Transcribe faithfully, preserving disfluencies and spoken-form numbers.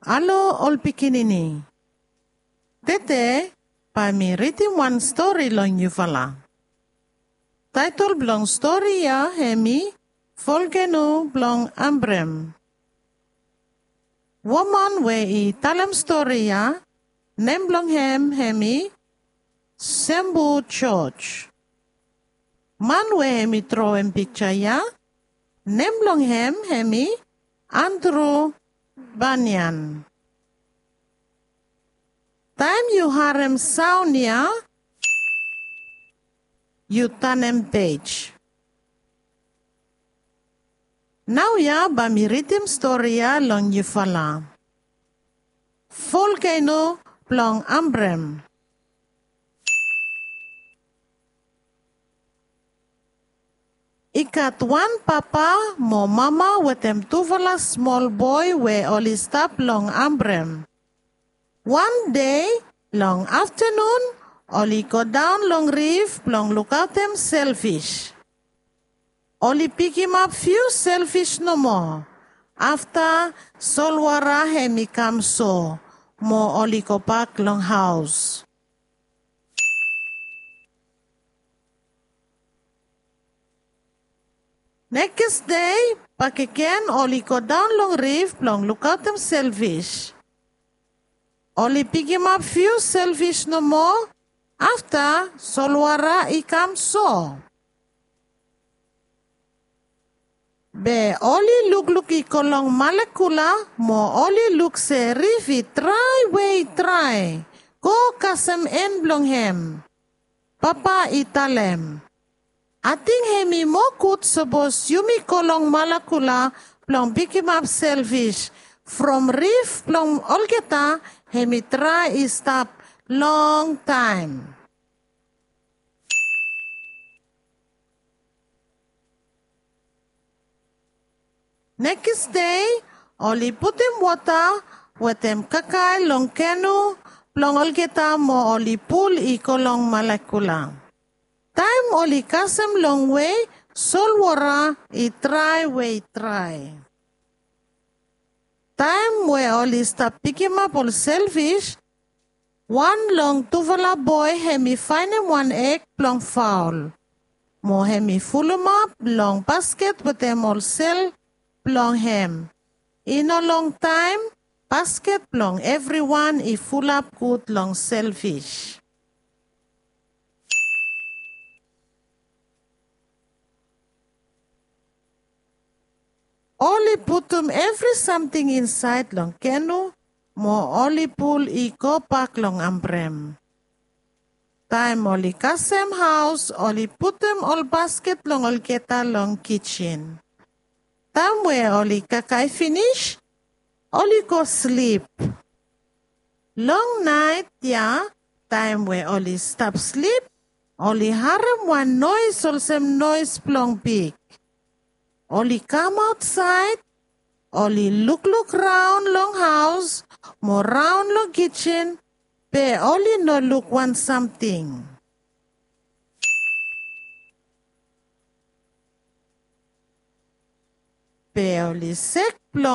Halo ol pikinini. Tede bae mi ridim wan stori long yufala. Taetol blong stori ya hemi Volkeno blong Ambrem. Woman we i talem stori ya, nem blong hem hemi Sembu George. Man we hemi trowem pikja ya, nem blong hem hemi Andru Banian. Taem yu harem saon ya, yu tanem pej. Naoia bae mi ridim stori ya long yufala. Volkeno blong Ambrem. I gat wan papa mo mama wetem tufala smol boe we oli stap long Ambrem. Wan dei long aftanun oli godaon long rif blong lukaotem selfis. Oli pikimap fiu selfis nomo. Afta solwara hemi kam so mo oli gobak long haos. Nekis dei bakegen oli godaon long rif blong lukaotem selfis. Oli pikimap fiu selfis nomo. Afta solwara i kam so. Be oli lukluk i go long malekula mo oli luk se rif i drae we i drae go kasem en blong hem. Papa i talem, ating hemi moa gud sapos yumi go long malekula blong pikimap selfis from rif blong olgeta hemi drae i stap longtaem. Nekis dei oli putum wota wetem kakae long kenu blong olgeta mo oli pul i go long malekula. Taem oli kasem longwe, solwara i drae we i drae. Taem we oli stap pikimap ol selfis, wan long tufala boe hemi faenem wan eg blong faol mo hemi fulumap long basket wetem ol sel blong hem. I no longtaem basket blong evriwan i fulap gud long selfis. Oli putum evri samting insaed long kenu mo oli pul i gobak long Ambrem. Taem oli kasem haos oli putum ol basket blong olgeta long kijin. Taem we oli kakae finis oli go slip. Long naet ya taem we oli stap slip oli harem wan noes olsem noes blong pig. Oli kam aotsaed oli lukluk raon long haos mo raon long kijin, be oli no luk wan samting. Be oli sek blong